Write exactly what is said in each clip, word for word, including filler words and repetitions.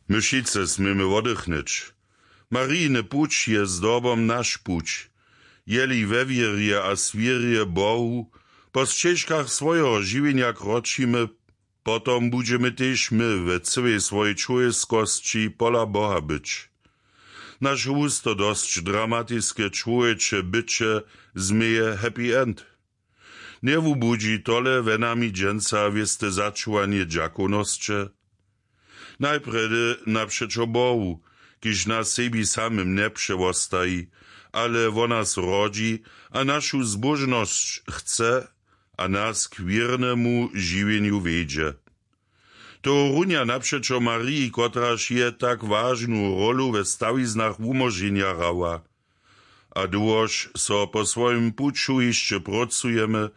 My wšitcy směmy woddychnyć. Marijiny puć je zdobom naš puć. Jeli we wěrje a swěrje Bohu po sćežkach swojeho žiwjenja kročimy, potom budźemy tež my we cyłej swojej čłowjeskosći pola Boha być. Naše husto dosć dramatiske čłowječe byće změje happy end. Njewubudźi tole we nami dźensa wěste začuwanje dźakownosće? Najprjedy napřećo Bohu, kiž nas sebi samym njepřewostaji, ale wo nas rodźi a našu zbóžnosć chce a nas k wěrnemu žiwjenju wjedźe. Tohorunja napřećo Mariji, kotraž je tak wažnu rólu we stawiznach wumóženja hrała. A dołhož so po swojim puću hišće prócujemy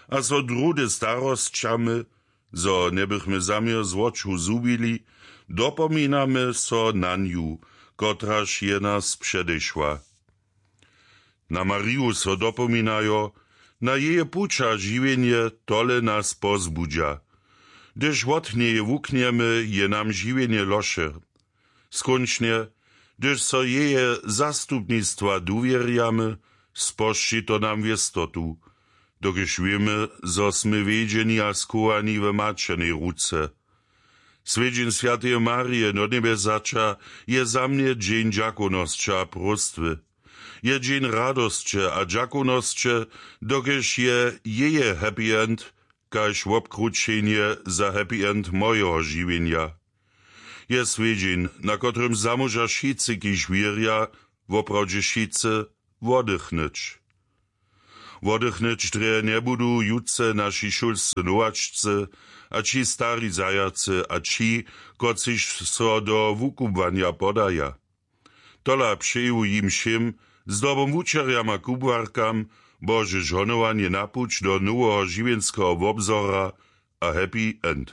a so druhdy starosćamy, zo njebychmy zaměr z woču zhubili, dopominamy so na nju, kotraž je nas předešła. Na Mariju so dopominajo, na jeje puć a žiwjenje tole nas pozbudźa. Hdyž wot njeje wuknjemy, je nam žiwjenje loše. Skónčnje, hdyž so jeje zastupnistwa duwěrjamy, spožči to nam wěstotu, dokelž wěmy, zo smy wjedźeni a schowani w maćernej ruce. Swjedźeń swjateje Marije do njebjesaća je za mnje dźeń dźakownosće a próstwy. Je dźeń radosće a dźakownosće, dokelž je jeje happy end kaž wobkrućenje za happy end mojeho žiwjenja. Je swjedźeń, na kotrymž zamóža wšitcy, kiž wěrja, woprawdźe wšitcy, woddychnyć. Woddychnyć drje njebudu jutře naši šulscy nowačcy a ći stari zajacy a ći, kotřiž so do wukubłanja podaja. Tola přeju jim wšěm, zdobom wučerjam a kubłarkam, Bože žohnowanje na puć do noweho žiwjenskeho wobzora a happy end.